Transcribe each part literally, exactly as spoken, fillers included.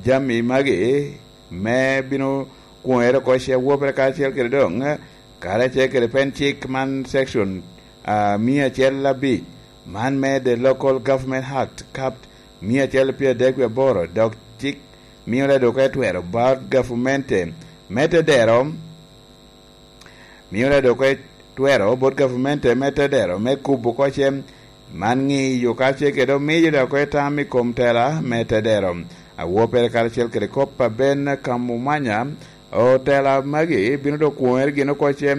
Jami magi me bino kwoŋere oko ce wopere karacel kede doŋ, karacel kede pen cik man section, ah, mia acel abic, man me The Local Government Act, Cap mia acel pyera adek wie aboro, dok cik mio ledok etwero bot gavumenti me tedero, mio ledok etwero bot gavumenti me tedero me kubo oko ce, man ŋiyo ka ce kede omiyo dok etam i kom tela me tedero. Awopere karacel kede kop a Ben Kamumanya, otela magi bino dok kwoŋere gin oko ce,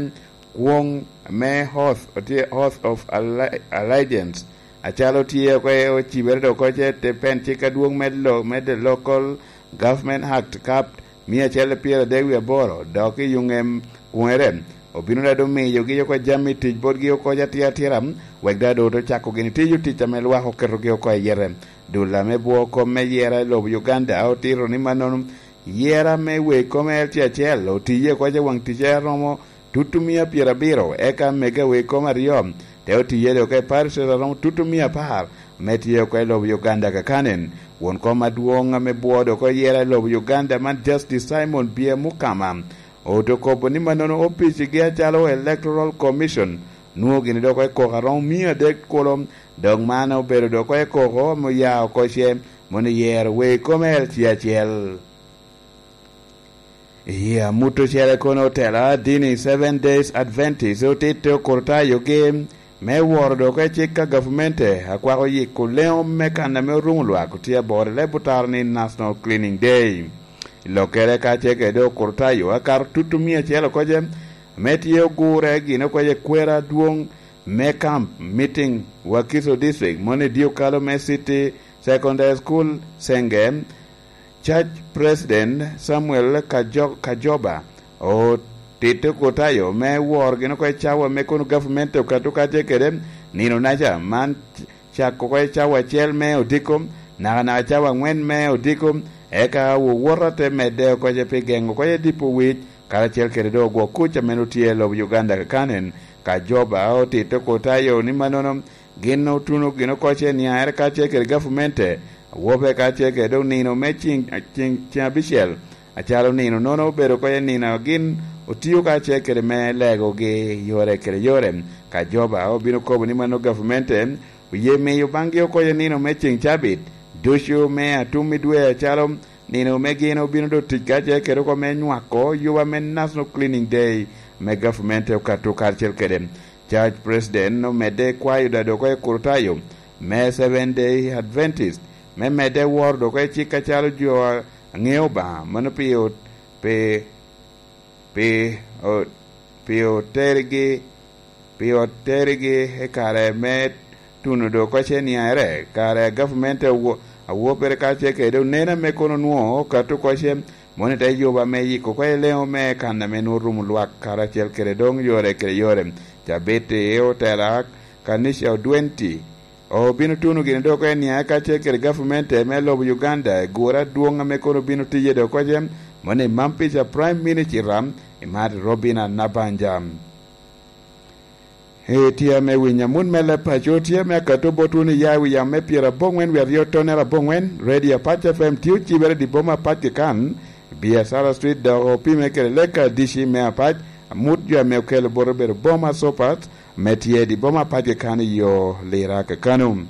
kwoŋ me Oath, otye Oath of Alli-, Allegiance, acalo tye oko e ocibere dok oko ce te pen cik adwoŋ me lo-, me The Local Government Act, Cap mia acel pyera adek wie aboro, dok i yuŋem kwoŋere obino dado miyogi oko jami tic botgi oko atira atira, wek dado oto cako gini tiyo tic ame lwak oketogi oko i yete. Dul ame bwo kom me yera i lobo Uganda otito ni mannono, yera me wek kom L C acel otiye oko i waŋ ticce aromo tutumia pyera abiro, eka mega wek kom aryo te otiye dok i parishes aromo tutumia apar, me tye oko i lobo Uganda kakanen. Won kom adwoŋ ame bwo dok oyera i lobo Uganda man Justice Simon Bye Mukama oto kobo ni mannono opicigi acalo Electoral Commission nwoŋo gini dok i koko aromo mia adek kulo, dok man obedo dok i koko ame oya oko ce, mono yero wek kom L C acel. I amut ocele kono otela dini Seven Days Adventist otito kurtayogi me woro dok i cik a gavumenti akwako yiko leŋo me kan ame orumo lwak otye aboro i leb otaro ni National Cleaning Day. Lokere ka ce kede okurtayo akato tutumia acel oko ce, ame tye ogure gin oko ce kwero adwoŋ me camp meeting Wakiso District, mono i dio kalo me City Secondary School, Senge, Church President Samuel Kajo-, Kajoba otito kutayo me woro gin oko i cawa me kono gavumenti okato kacce kede nino naca man cako oko i cawa acel me odiko, nakanaka cawa aŋwen me odiko, eka wowoto te medde oko ce pi geŋo oko ce dipo wic, karacel kede doŋ ogwok kuc ame nwoŋo tye i lobo Uganda kakanen. Kajoba otito kutayo ni mannono, gin otuno gin oko ce niaŋere kacel kede gavumente, awobe kacel kede doŋ nino me ciŋ, ciŋ, ciŋ abicel, acalo nino nono obedo oko ce nino a gin otio kacel kede me legogi yore kede yore. Kajoba obino kobo ni mano gavumente oye miyo baŋgi oko ce nino me ciŋ cabit ducu me atum i dwe, acalo nino me gin obino doŋ tic kacel kede oko me nywako yuba me National Cleaning Day me gavumente okato karacel kede. Church President omedde kwayo dado oko i kurtayo me Seven Day Adventist me medde woro dok i cik acalo jo a ŋeo Obaŋa, mano pi ot-, pi, pi ot-, pi otergi, pi otergi i kare me tuno dok oko ce niaŋere, kare a gavumenti awo-, awopere kacel kede onen ame kono nwoŋo okato oko ce, mono i te yuba me yiko oko i leŋo me kan ame nwoŋo rumo lwak karacel kede doŋ yore kede yore. Cabit i otela kanica odwenti obino tuno gini dok eniaŋ kacel kede gavumenti me lobo Uganda i gure adwoŋ ame kono bino tiye dok oko ce, mono i mam pica Prime Minister i mat Robina Nabanja. Itye ame winyo amut me leb paco tye ame akato botwu ni ya i wi yam me pyera aboŋwen wie aryo tonere aboŋwen, Radio Apac F M tye ocibere i di boma apac kikan, Biacara Street dok opime kede Leka D C me apac, amut jo ame okelo bot obedo boma Sopat, ame tye i di boma apac kikan i yo Lira kakano.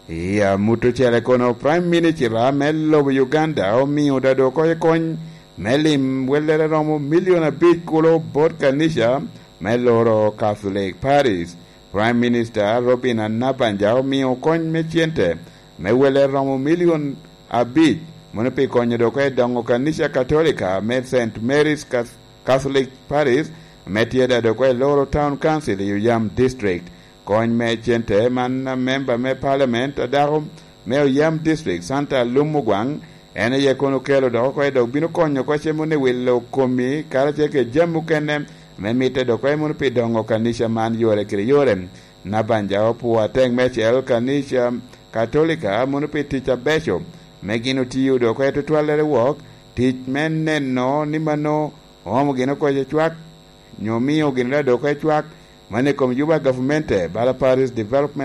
I amut ocele kono, Prime Minister me lobo Uganda omio dado oko i kony me lim wellere romo milion abic kulo bot kanica me loro Catholic Paris. Prime Minister Robina Nabanja omio kony me cente me wellere romo milion abic, mono pi konyo dok i dongo kanica Katolika me Saint Mary's Cath-, Catholic Paris, ame tye dado oko i Loro Town Council i Oyam District. Kony me cente man, a memba me Parliament a dako me Oyam District, Santa Lum Ogwaŋ, en aye kono okelo dok oko, dok bino konyo oko cem wunu i wilo komi, karacel kede jami mukene ame mitte dok oko mono pi dongo kanica man yore kede yore. Nabanja opwoo atek meicel kanica Katolika mono pi tic abeco me gin otiyo dok oko tutwallere wok, tic me neno ni mano oomo gin oko cwak, nyo omio gin dok oko cwak, mano i kom yuba gavumenti, bala Paris Development